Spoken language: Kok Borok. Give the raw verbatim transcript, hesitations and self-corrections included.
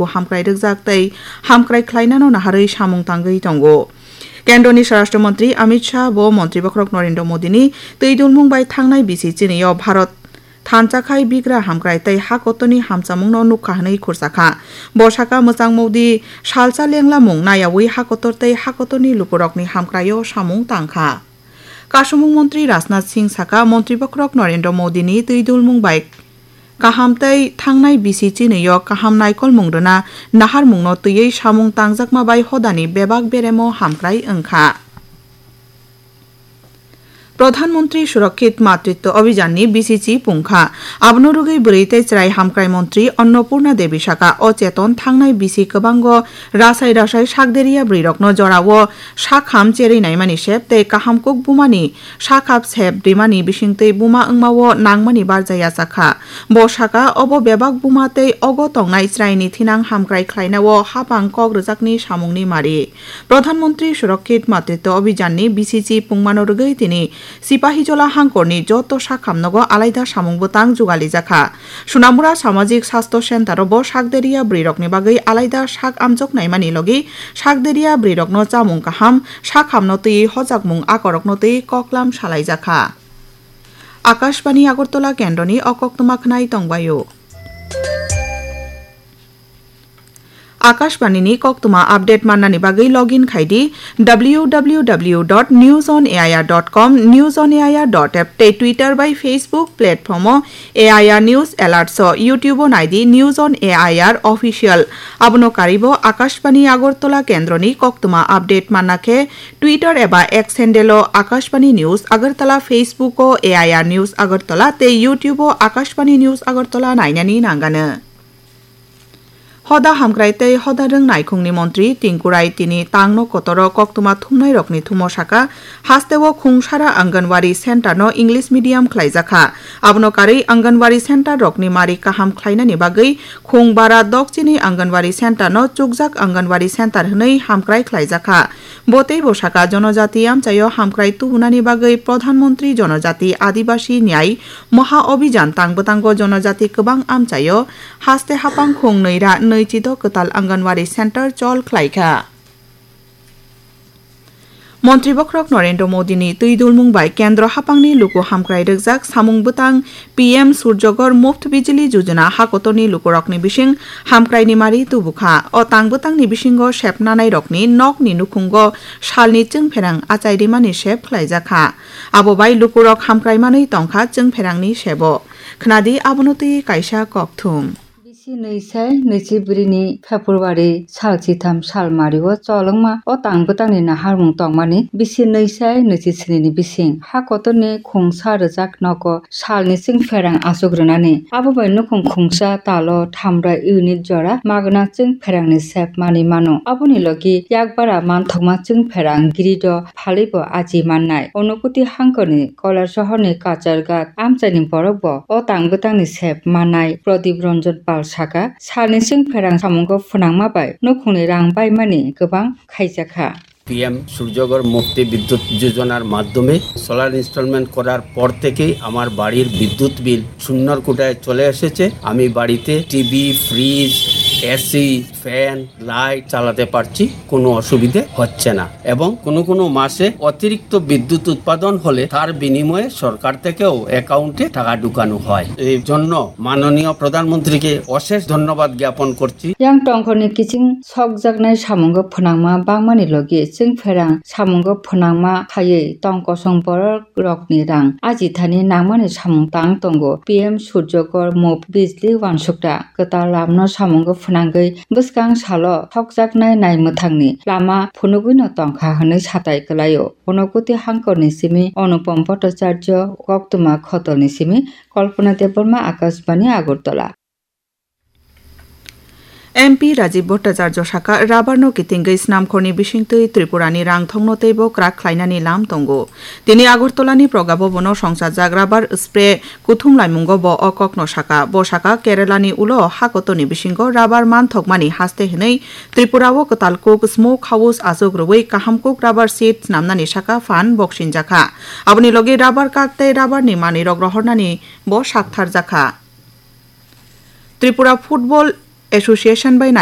hamkrai rwkjak tei hamkrai khlainano naharwi samung tangwi tongo. Kendroni Swarashtra Montri Amit Shah bo Montri Bokhorok Narendra Modini twi dulmung bai thangnai bisi chini o Bharat thansa khai bigra hamkrai tei ha kotorni hamchamungno nukha hwnwi khursa kha. Bo sakha, mwchang Modi salsa lenglamung nayaui ha kotor tei ha kotorni lukurokni hamkraio samung tang kha. Kasumung Montri Rajnath Singh sakha, Montri Bokhorok Narendra Modini twi dulmung bai kaham tei thangnai bisi chinwi o kaham naikolmung rwna naharmungno twiwi samung tangjakma bai hodani bebak beremo hamkrai wng kha. Pradhan Mantri Surakshit Matritva Abhiyan ni bisi chi pung kha. Abono rwgwi bwrwi tei chwrai hamkrai montri Annapurna Devi sakha, o cheton thangnai bisi kwbango rasai rasai sakderia bwrwirokno jorao sakham cherwi naimani sep tei kaham kuk bumani sakhap sep rimani bisingtwi buma wngmao nangmani barja yachakha. Bo sakha, obo bebak buma tei ogo tongnai chwraini thinang hamkrai khlainao hapang kok rwjakni samungni mari. Pradhan Mantri Surakshit Matritva Abhiyan ni bisi chi pungmano rwgwi tini Sipahijola hangkorni joto sakhamnogo alaida samung bwtang jugalijak kha. Sunamura Samajik Sastho Center o bo sakderia bwrwirokni bagwi alaida sak amjok naimani logi sakderia bwrwirokno chamung kaham, sakhamno twiwi hojakmung akorokno twiwi koklam salaijak kha. Akashbani Agartala kendroni o koktwma khwnai tongbaio. Akashbani ni koktwma update mannani bagwi login khai di W W W dot news on A I R dot com, news on A I R dot app tei Twitter bai Facebook platform o A I R News Alerts o, YouTube o nai di News on A I R Official. Abono karwi bo Akashbani Agartala kendroni koktwma update manna khe Twitter eba X handle o Akashbani News Agartala, Facebook o A I R News Agartala tei YouTube o Akashbani News Agartala nainani nangano. Hoda hamkrai tei hoda rwng naikhungni montri Tinku Rai tini tangno kotoro koktwma thumnairokni thumo sakha, hasteo khungsara Anganwadi center no English medium khlaijakha. Abono karwi Anganwadi center rokni mari kaham khlainani bagwi khung bara dokchini Anganwadi center no chukjak Anganwadi center hwnwi hamkrai khlaijakha. Bo teibo sakha, Jonojati amchaio hamkrai tubunani bagwi Pradhan Mantri Jonojati Adibasi Nyay Maha Abhiyan tang bwtango jonojati kwbang amchaio haste hapang khung nwi ra nwi chido kwtal Anganwadi center chol khlaikha. Montri Bokhorok Narendra Modini twi dulmung bai kendro hapangni luku hamkrai rwkjak samung bwtang P M Surjagor Muft Bijli Yojana hakotorni lukurokni bising hamkraini mari tubukha. O tang bwtangni bisingo sepnanairokni nokni nukhungo salni chwngpherang achai rimani sep khlaijakha. Abo bai lukurok hamkrai manwi tongkha chwngpherangni sebo. Khnadi abono twi kaisa kokthum. Bisi nwi sai nwichi bwrwini February sal chitham sal mario cholwngma o tang bwtangni naharmung tongmani bisi nwi sai nwichi snini bising ha kotorni khungsa rwjak nogo salni chwngpherang achuk rwnani. Abo bai nukhung khungsa talo thamra unit jora magna chwngpherangni sep mani mano. Aboni logi yakbara manthokma chwngpherang girido phalwibo aji mannai. Unakoti hangkorni Koilasohorni Kacharghat amchaini borokbo o tang bwtangni sep mannai. Pradip Ranjan Pal sakha, salni chwngpherang samungo phwnangma bai nukhungni rang baimani kwbang khaijakha. P M Surjagor Mukti Bidyut Yojonar maddhome solar installment korar por thekei amar barir bidyut bill sunnor kotaye chole esece. Ami barite T V, fridge, A C, fan, light chalate parchi, kono osubidhe hocche na. Ebong kono kono mase otirikto bidyut utpadon hole tar binimoye sorkar thekeo account-e taka dhukano hoy. Ei jonno manoniyo pradhan montrike oshesh dhonnobad gyapon korchi. Yang tongkhorni kiching sokjaknai samungo phwnangma bangmani logi chwngpherang samungo phwnangma khaiwi tongkosong borok rokni rang ajithani nangmani samung tang tongo. P M Surjagor Muft Bijli Wansukra kwtal lamno samungo phwnangwi bwskang salo sokjaknai nai mwthangni lama phunugwino tongkha hwnwi satai kwlaio. Unakoti hangkorni simi Anupam Bhattacharya, koktwma khotolni simi Kalpana Debbarma, Akashbani Agartala. M P Rajiv Bhattacharya sakha, rubber no kitingwi snamkhorni bisingtwi Tripura ni rangthongno teibo kwrak khlainani lam tongo. Tini Agartala ni Praga Bhavan o songchajak rubber spray kuthum laimungo bo o kokno sakha. Bo sakha, Kerala ni ulo hakotorni bisingo rubber manthokmani haste hwnwi Tripura o kwtal kuk smoke house achuk rwui kaham kuk rubber sheet snamnani sakha phan boksinjakha. Aboni logi rubber kak tei rubber ni manwirok rohornani bo saktharjakha. Tripura Football Association bai